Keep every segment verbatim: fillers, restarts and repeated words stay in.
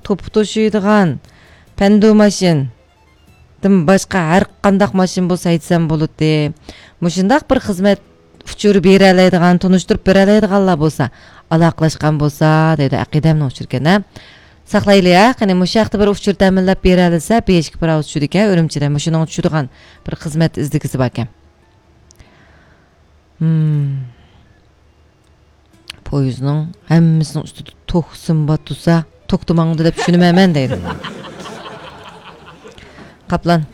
توپا توشۇيدىغان پەندۇ ماشىنىدىن باشقا ھەر قانداق ماشىنا بولسا ھەيدىسەم بولاتتى. مۇشۇنداق بىر خىزمەت ئۇچۇرى بېرەلەيدىغان، تونۇشتۇرۇپ بېرەلەيدىغانلار بولسا، ئالاقىلاشقان بولسا، دەيدۇ، ئەقىدەمنىڭ ئۇچۇرىكەن-ھە. ساقلايلى، ھە، قېنى، مۇشۇ ھەقتە بىر ئۇچۇر تەمىنلەپ بېرەلىسە، بېشىكى پىراۋا چۈشىدىكەن، ئۈرۈمچىدە مۇشۇنىڭغا چۈشىدىغان بىر خىزمەت ئىزدىگۈسى باركەن. ھىم. پويىزنىڭ ھەممىسىنىڭ ئۈستىدە توك سىم بار تۇرسا، توختىماڭدۇ دەپ چۈشىنىمەن دەيدۇ. قاپلان.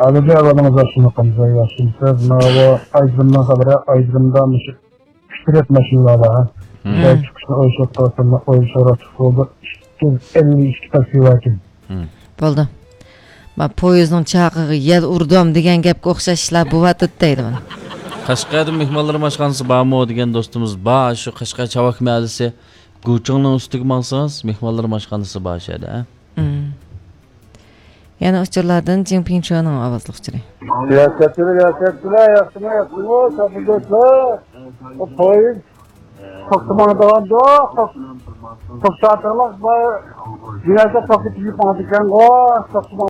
ئابىدە، ئەھۋالىڭىز ياخشىمۇ، قانداق، ياخشىمۇسىز؟ ماۋۇ ئايدىرىمنىڭ خەۋىرى، ئايدىرىمدا مۇشۇ ئۈچ رەت ماشىنىلار بار. ھىم. شۇ چىقىشنى ئويلىشىپ قالسام، ئويلىشىپ بولدى. ئىككى يۈز ئەللىك ئىككى تاكسى باركەن. ھىم. بولدى. ما پويىزنىڭ چاقىغا يەل ئۇردۇم دېگەن گەپكە ئوخشاش ئىشلار بولۇۋاتىدۇ دەيدىمەن. قەشقەردە مېھمانلار ئاشخانىسى بارمۇ دېگەن دوستىمىز بار. شۇ قەشقەر چاۋاك مەھەللىسى گۇچىڭنىڭ ئۈستىگە ماڭسىڭىز، مېھمانلار ئاشخانىسى بار شۇ يەردە. ھىم. يەنە ئۇچۇرلاردىن جىڭ پىڭچۇنىڭ ئاۋازلىق ئۇچۇرى. ياخشى، ياخشى، ياخشىمۇ، ياخشىمۇ، ساپىدوسلار؟ بۇ پويىز توختىمايدىغاندۇ، توختاتىڭلار، بۇ دېگەندە توختىتىپ ماڭىدىكەنغۇ، توختىماي.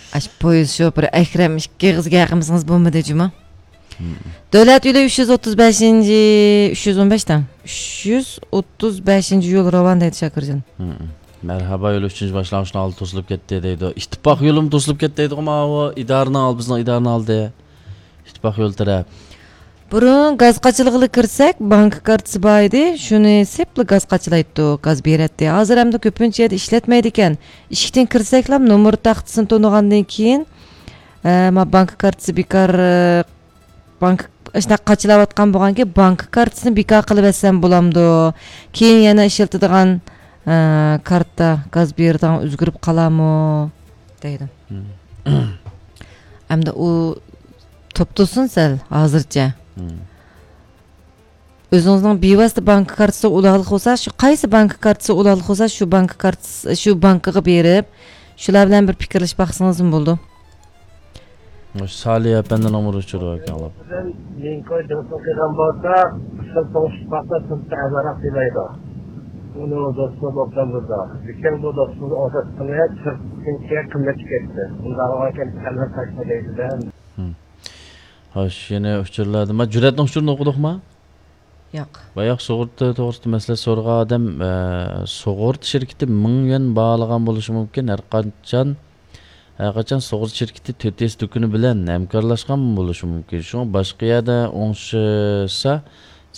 ئاشۇ پويىز شوپۇرى ئەكرەم ئىككى ئېغىزگە ھەققىمىزىڭىز بولمىدى جۇما. دۆلەت يولى ئۈچ يۈز ئوتتۇز بەشىنچى، ئۈچ يۈز ئون بەش دەڭ. ئۈچ يۈز ئوتتۇز بەشىنچى يول راۋان دەيدۇ شاكىرجان. مەرھابا يولى ئۈچىنچى باشلانغۇچنىڭ ئالدى توسۇلۇپ كەتتى دەيدۇ. ئىتتىپاق يولىمۇ توسۇلۇپ كەتتى دەيدىغۇ ماۋۇ ئىدارىنىڭ ئالدى، بىزنىڭ ئىدارىنىڭ ئالدى. ئىتتىپاق يول تەرەپ. بۇرۇن گاز قاچىلىغىلى كىرسەك، بانكا كارتىسى بار ئىدى، شۇنى سېپلا گاز قاچىلايتتۇق، گاز بېرەتتى. ھازىر ئەمدى كۆپىنچە يەردە ئىشلەتمەيدىكەن. ئىشىكتىن كىرسەكلا نومۇر تاختىسىنى تونۇغاندىن كېيىن، ئە، ما بانكا كارتىسى بىكار، ئە، بانكا، ئاشۇنداق قاچىلاۋاتقان بولغانكى، بانكا كارتىسىنى بىكار قىلىۋەتسەم بولامدۇ؟ كېيىن يەنە ئىشلىتىدىغان، ئە، كارتا، گاز بېرىدىغان ئۆزگىرىپ قالارمۇ؟ دەيدۇ. مم. ئەمدى ئۇ توپ تۇرسۇن سەل ھازىرچە. مم. ئۆزىڭىزنىڭ بىۋاسىتە بانكا كارتىسىغا ئۇلاغلىق بولسا، شۇ قايسى بانكا كارتىسىغا ئۇلاغلىق بولسا، شۇ بانكا كارتىسى، شۇ بانكىغا بېرىپ، شۇلار بىلەن بىر پىكىرلىشىپ باقسىڭىزمۇ بولىدۇ. مۇشۇ سالىھ ئەپەندىنىڭ بىر ئۇچۇرى بار ئىكەن، ئاڭلاپ. لىنكولن دوستلۇق قىلغان بولسا، سىز توغرىشىپ باقسا، سىز تەزىراق دېمەيدۇ. ئۇنى دوستلۇق ئوبدان بۇزدى. لېكىن بۇ دوستلۇقنى ئوبدان قىلماي، سىرتقىچە قىممەتكە كەتتى. ئۇنداق بولغانكەن، تەزىراق تاشلا دەيدۇ-دە. ھىم. خوش، يەنە ئۇچۇرلاردىن. ما جۈرئەتنىڭ ئۇچۇرىنى ئوقۇدۇقما؟ ياق. باياق سۇغۇرتا توغرىسىدا مەسلىھەت سورىغان ئادەم، ئە، سۇغۇرتا شىركىتى مىڭ يۈەن باھالىغان بولۇشى مۇمكىن. ھەر قاچان، ھەر قاچان سۇغۇرتا شىركىتى تۆت ئېس دۇكىنى بىلەن ھەمكارلاشقان بولۇشى مۇمكىن. شۇڭا باشقا يەردە ئوڭشىسا،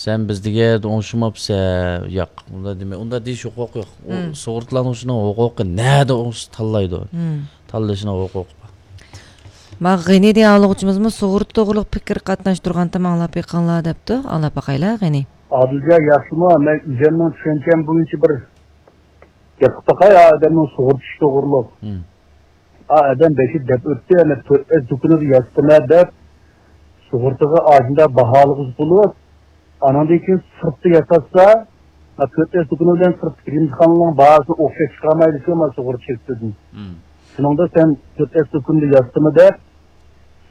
سەن بىز دېگەن يەردە ئوڭشىماپسەن. ياق، ئۇنداق دېمەي، ئۇنداق دېيىش ھوقۇقى يوق. ئۇ مم. سۇغۇرتىلانغۇچىنىڭ ھوقۇقى نەدە ئوڭشىسا تاللايدۇ. مم. تاللىشىنىڭ ھوقۇقى بار. ما غېنى دېگەن ئاڭلىغۇچىمىزمۇ سۇغۇرتا توغرۇلۇق پىكىر قاتناشتۇرغانتىم، ئاڭلاپ بېقىڭلار دەپتۇ. ئاڭلاپ باقايلى، غېنى. ئادىلجان، ياخشىمۇ؟ مەن ئۆزۈمنىڭ چۈشەنچەم بويىچە بىر گەپ قىلىپ باقاي، ئا ئادەمنىڭ سۇغۇرتا ئىشى توغرۇلۇق. مم. ئا ئادەم بەشى دەپ ئۆتتى، يەنە تۆت ئەس دۇكىنىدا ياتتىمەن دەپ، سۇغۇرتىغا ئاشۇنداق باھالىغۇسى بولۇپ، ئانىڭدىن كېيىن سىرتتا ياتاتسا، ما تۆت ئەس دۇكىنى بىلەن سىرتتىكى ئىمتىھاننىڭ باھاسىنى ئوخشاش چىقارمايدىكەن، ما سۇغۇرتا شىركىتىدىن. مم. شۇنىڭدا سەن تۆت ئەس دۇكىنىدا ياتتىمۇ دەپ،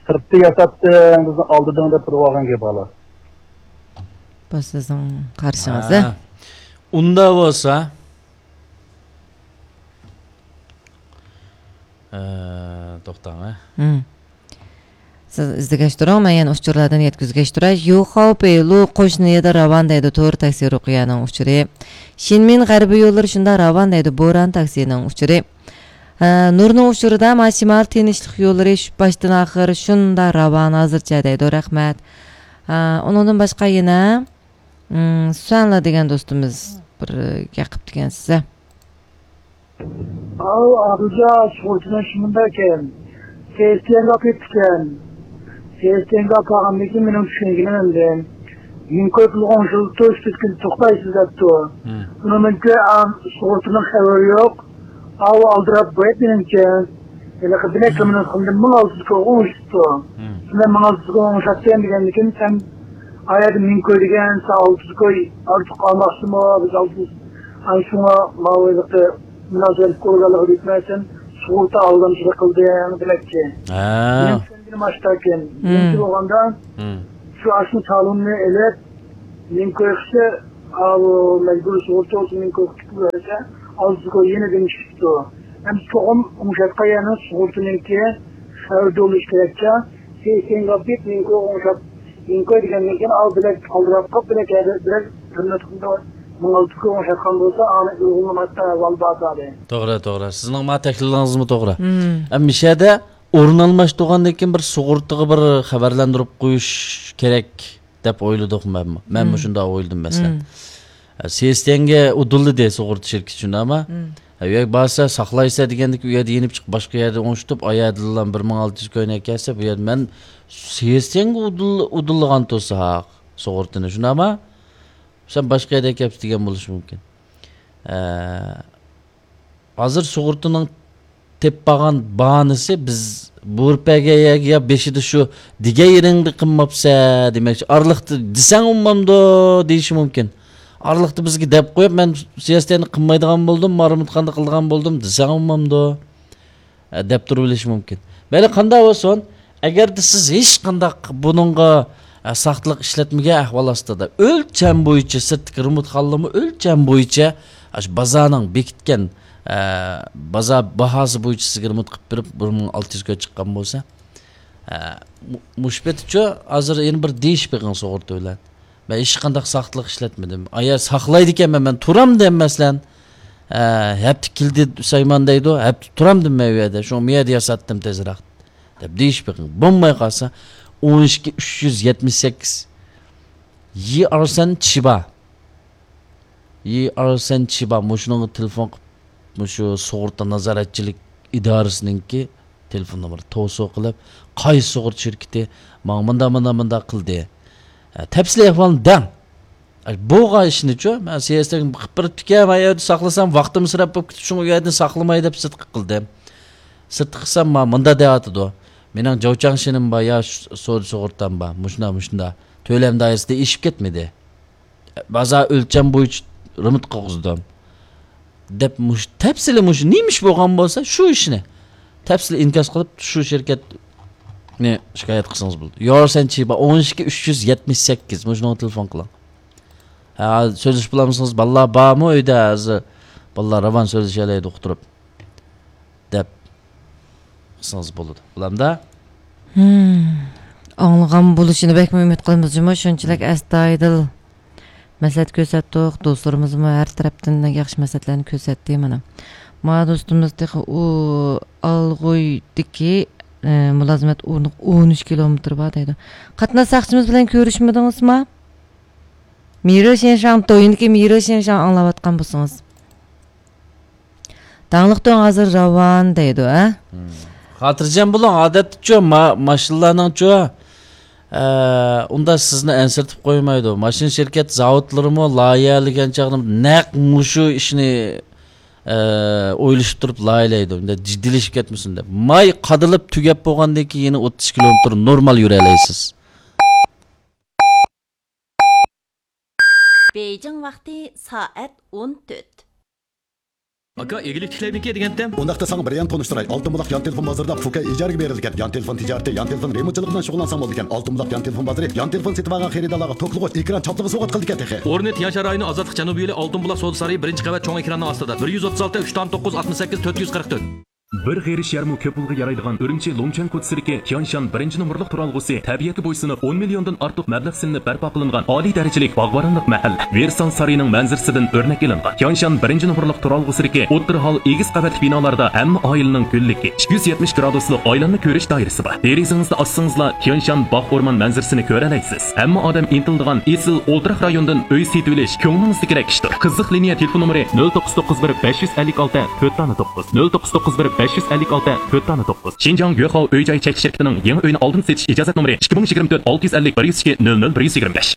سىرتتا ياتاتتىڭ، بىزنى ئالدىدىڭ دەپ تۇرۇۋالغان گەپ ھالا. بۇ سىزنىڭ قارىشىڭىز، ھە؟ ھە. ئۇنداق بولسا، ئە، توختاڭ، ھە؟ ھىم. سىز ئىزدىگەچ تۇرۇڭ، مەن يەنە ئۇچۇرلاردىن يەتكۈزگەچ تۇراي. يۇخاۋپېي لۇ قوشنا يېدە راۋان دەيدۇ، تور تاكسى رۇقىيەنىڭ ئۇچۇرى. شىنمىن غەربىي يوللىرى شۇنداق راۋان دەيدۇ، بوران تاكسىنىڭ ئۇچۇرى. ھە، نۇرنىڭ ئۇچۇرىدا ما شىمال تىنچلىق يوللىرى شۇ باشتىن ئاخىر شۇنداق راۋان ھازىرچە دەيدۇ، رەھمەت. ھە، ئۇنىڭدىن باشقا يەنە، ئىم، سۈەنلا دېگەن دوستىمىز بىر گەپ قىپتىكەن سىزگە. ئاۋۇ ئابىجا سۇغۇرتىنىڭ شۇ مۇنداق ئىكەن. سېستېنگا كېتىپتىكەن. سېستېنگا قالغاندىن كېيىن مېنىڭ چۈشەنگىنىم ئەمدى. لىنكولن پۇلغا ئوڭشىلىپتۇ، ئۈچ تۆت كۈن توختايسىز دەپتۇ. مم. بۇنىڭ مەنكى، ئا، سۇغۇرتىنىڭ خەۋىرى يوق. ئاۋۇ ئالدىراپ قويۇپ مېنىڭچە. ھېلىقى بىلەك مېنىڭ خېمىدىن مىڭ ئالتە يۈز كوغا ئوڭشىتىپتۇ. مم. شۇندا مىڭ ئالتە يۈز كوغا ئوڭشاتتى دېگەندىكىن سەن ئايەردە مىڭ كوي دېگەن، سەن ئالتە يۈز كوي ئارتۇق ئالماقچىمۇ؟ بىز ئالتە يۈز. ئاي شۇڭا ماۋۇ ھېلىقى مۇناسىۋەتلىك ئورگانلارغا دېيىپمەن، سەن سۇغۇرتا ئالدامچىلىق قىلدىڭ دېمەكچى. ھە. مېنىڭ چۈشەنگىنىم ئاشۇنداقكەن. مم. بىرىنچى بولغاندا، مم. شۇ ئاشۇ تالوننى ئېلىپ، مىڭ كوي قىلسا، ئاۋۇ مەجبۇرىي سۇغۇرتا بولسا مىڭ كوي قىلىپ بەرسە، ئالتە يۈز كوي يېنىدىن چۈشۈپتۇ. ئەمدى چوقۇم ئوڭشاتقان يەرنىڭ سۇغۇرتىنىڭكى خەۋىرى بولۇشى كېرەكچە. سېيىسەنگە ئاپىرىپ مىڭ كوي ئوڭشاپ، مىڭ كوي دېگەندىن كېيىن ئاۋۇ بىلەك ئالدىراپ قاپ، بىلەك ھەدە بىلەك بىر مىڭ ئالتە يۈز كوي ئوڭشاتقان بولسا، ئاڭا ئۇيغۇنلىماقتا ئەھۋال بار زادى. توغرا، توغرا. سىزنىڭ ما تەھلىلىڭىزمۇ توغرا. مم. ئەمما مۇشۇ يەردە ئورۇن ئالماشتۇرغاندىن كېيىن بىر سۇغۇرتىغا بىر خەۋەرلەندۈرۈپ قويۇش كېرەك دەپ ئويلىدۇق مەنمۇ. مەنمۇ مم. شۇنداق ئويلىدىم مەسىلەن. مم. سېيىسەنگە ئۇدۇللىدى سۇغۇرتا شىركىتى شۇنداقما؟ مم. ھە، ئۇ يەرگە بارسا ساقلايسە دېگەندىكى ئۇ يەردە يېنىپ چىقىپ باشقا يەردە ئوڭشىتىپ، ئايەردىلا بىر مىڭ ئالتە يۈز كوينى ئەكەلسە، بۇ يەردە مەن سېيىسەنگە ئۇدۇل-، ئۇدۇللىغان تۇرسا سۇغۇرتىنى شۇنداقما؟ سەن باشقا يەردە ئەكەپسە دېگەن بولۇشى مۇمكىن. ھە. ھازىر سۇغۇرتىنىڭ تېپىپ بارغان باھانىسى بىز بۇيرۇپ بەرگەن يەرگە يا بېشىدا شۇ دېگەن يېرىڭدە قىلماپسە دېمەكچى. ئارىلىقتا دېسەڭ ئۇنىمامدۇ دېيىشى مۇمكىن. ئارىلىقتا بىزگە دەپ قويۇپ، مەن سىياسەتنى قىلمايدىغان بولدۇم، مارمۇتخاندا قىلىدىغان بولدۇم دېسەڭ ئۇنىمامدۇ؟ ئە، دەپ تۇرۇۋېلىشى مۇمكىن. مەيلى، قانداق بولسۇن، ئەگەردە سىز ھېچقانداق بۇنىڭغا، ئە، ساختىلىق ئىشلەتمىگەن ئەھۋال ئاستىدا، ئۆلچەم بويىچە، سىرتتىكى رېمونتخانىلارمۇ ئۆلچەم بويىچە، ئاشۇ بازارنىڭ بېكىتكەن، ئە، بازار باھاسى بويىچە سىزگە رېمونت قىلىپ بېرىپ، بىر مىڭ ئالتە يۈز كوي چىققان بولسا، ئە، مۇ-، مۇشۇ پېتىچۇ ھازىر يەنە بىر دېيىشىپ بېقىڭ سۇغۇرتا بىلەن. مەن ھېچقانداق ساختىلىق ئىشلەتمىدىم. ئايا ساقلايدىكەنمەن، مەن تۇرامدىم مەسىلەن. ئە، ھەپتە كېلدى سايمان دەيدۇ، ھەپتە تۇرامدىم مەن ئۇ يەردە، شۇڭا مۇ يەردە ياساتتىم تېزراق دەپ دېيىشىپ بېقىڭ. بولماي قالسا، ئون ئىككى ئۈچ يۈز يەتمىش سەككىز يىئارسەن چىبا. يىئارسەن چىبا، مۇشۇنىڭغا تېلېفون قىلىپ، مۇشۇ سۇغۇرتا نازارەتچىلىك ئىدارىسىنىڭكى تېلېفون نومۇرى توسۇ قىلىپ، قايسى سۇغۇرتا شىركىتى ماڭا مۇنداق، مۇنداق، مۇنداق قىلدى. ھە، تەپسىلىي ئەھۋالنى دەڭ. ئە، بولغان ئىشنىچۇ، مەن سىياسەتنى قىلىپ بېرىپتىكەن، مەن ئۇ يەردە ساقلىسام، ۋاقتىم ئىسراپ بولۇپ كېتىپ، شۇڭا ئۇ يەردىن ساقلىماي دەپ سىرتقا قىلدىم. سىرتقا قىلسام، ما-، مۇنداق دەۋاتىدۇ. مېنىڭ جاۋچاڭشىنىم بار، يا ش-، سودا سۇغۇرتام بار، مۇشۇنداق، مۇشۇنداق. تۆلەم دائىرىسىدە ئېشىپ كەتمىدى. بازار ئۆلچەم بويىچە رېمونت قىلغۇزدۇم. دەپ مۇشۇ تەپسىلىي مۇشۇ نېمە ئىش بولغان بولسا، شۇ ئىشنى تەپسىلىي ئىنكاس قىلىپ، شۇ شىركەتنى شىكايەت قىلسىڭىز بولىدۇ. يارسەن چىبا، ئون ئىككى ئۈچ يۈز يەتمىش سەككىز، مۇشۇنىڭغا تېلېفون قىلىڭ. ھە، سۆزلىشىپ بولامسىڭىز؟ بالىلار بارمۇ ئۆيدە ھازىر؟ بالىلار راۋان سۆزلىشەلەيدۇ ئۇقتۇرۇپ. دەپ قىلسىڭىز بولىدۇ. بولامدا؟ ھىم. ئاڭلىغان بولۇشىنى بەكمۇ ئۈمىد قىلىمىز جۇمۇ، شۇنچىلىك ئەستايىدىل مەسلىھەت كۆرسەتتۇق. دوستلىرىمىزمۇ ھەر تەرەپتىن ياخشى مەسلىھەتلەرنى كۆرسەتتى مانا. ما دوستىمىز تېخى ئۇ ئالغۇيدىكى، ئە، مۇلازىمەت ئورنىغا ئون ئۈچ كىلومېتىر بار دەيدۇ. قاتناش ساقچىمىز بىلەن كۆرۈشمىدىڭىزما؟ مىرۇ شىنشاڭ، تويىنىكى مىرۇ شىنشاڭ ئاڭلاۋاتقان بولسىڭىز. داڭلىق تۆڭ ھازىر راۋان دەيدۇ، ھە؟ خاتىرجەم بولۇڭ، ئادەتتىچۇ، ما-، ماشىنىلارنىڭچۇ، ئە، ئۇنداق سىزنى ئەنسىرىتىپ قويمايدۇ. ماشىنا شىركەت زاۋۇتلىرىمۇ لايىھەلىگەن چاغدا نەق مۇشۇ ئىشنى، ئە، ئويلىشىپ تۇرۇپ لايىھەلەيدۇ. ئۇنداق جىددىيلىشىپ كەتمىسۇن دەپ. ماي قادىلىپ تۈگەپ بولغاندىن كېيىن يەنە ئوتتۇز كىلومېتىر نورمال يۈرەلەيسىز. بېيجىڭ ۋاقتى سائەت ئون تۆت. ئاكا، ئىگىلىك تىكلەيمىكى دېگەنتىم. ئۇنداقتا ساڭا بىر يان تونۇشتۇراي. ئالتۇن بۇلاق يان تېلېفون بازىرىدا پۇكا ئىجارىگە بېرىلگەن يان تېلېفون تىجارىتى، يان تېلېفون رېمونتچىلىقى بىلەن شۇغۇللانساڭ بولىدىكەن. ئالتۇن بۇلاق يان تېلېفون بازىرى يان تېلېفون سېتىۋالغان خېرىدارلارغا توكلىغۇچ، ئېكران چاپلىغۇچ سوۋغات قىلىدىكەن تېخى. ئورنى تيەنشان رايونى ئازادلىق جەنۇبىي يولى، ئالتۇن بۇلاق سودا سارىيى، بىرىنچى قەۋەت، چوڭ ئېكراننىڭ ئاستىدا. بىر يۈز ئوتتۇز ئالتە، ئۈچ تۆت توققۇز، ئاتمىش سەككىز، تۆت يۈز قىرىق تۆت. بىر غېرىش يەرمۇ كۆپ پۇلغا يارايدىغان ئۈرۈمچى لۇڭچۈەن كوچىسىدىكى تيانشان بىرىنچى نومۇرلۇق تۇرالغۇسى تەبىئەتكە بويسۇنۇپ، ئون مىليوندىن ئارتۇق مەبلەغ سېلىنىپ بەرپا قىلىنغان ئالىي دەرىجىلىك باغۋەنلىك مەھەل. ۋېرسال سارىيىنىڭ مەنزىرىسىدىن ئۆرنەك ئېلىنغان تيانشان بىرىنچى نومۇرلۇق تۇرالغۇسىدىكى ئوتتۇرا ھال ئېگىز قەۋەتلىك بىنالاردا ھەممە ئائىلىنىڭ گۈللۈكى، ئىككى يۈز يەتمىش گرادۇسلۇق ئايلانما كۆرۈش دائىرىسى بار. دېرىزىڭىزنى ئاچسىڭىزلا تيانشان باغ ئورمان مەنزىرىسىنى كۆرەلەيسىز. ھەممە ئادەم ئىنتىلىدىغان ئېسىل ئولتۇراق رايونىدىن ئۆي سېتىۋېلىش كۆڭلىڭىزدىكىدەك ئىشتۇر. قىزىق لىنىيە تېلېفون نومۇرى: نۆل توققۇز توققۇز بىر، بەش يۈز ئەللىك ئالتە، تۆت دانە توققۇز. نۆل توققۇز توققۇز بىر، بەش يۈز ئەللىك ئالتە، تۆت دانە توققۇز. شىنجاڭ يۆخاۋ ئۆي جاي چەكلىك شىركىتىنىڭ يېڭى ئۆينى ئالدىن سېتىش ئىجازەت نومۇرى: ئىككى مىڭ يىگىرمە تۆت، ئالتە يۈز ئەللىك، بىر يۈز ئىككى، نۆل نۆل، بىر يۈز يىگىرمە بەش.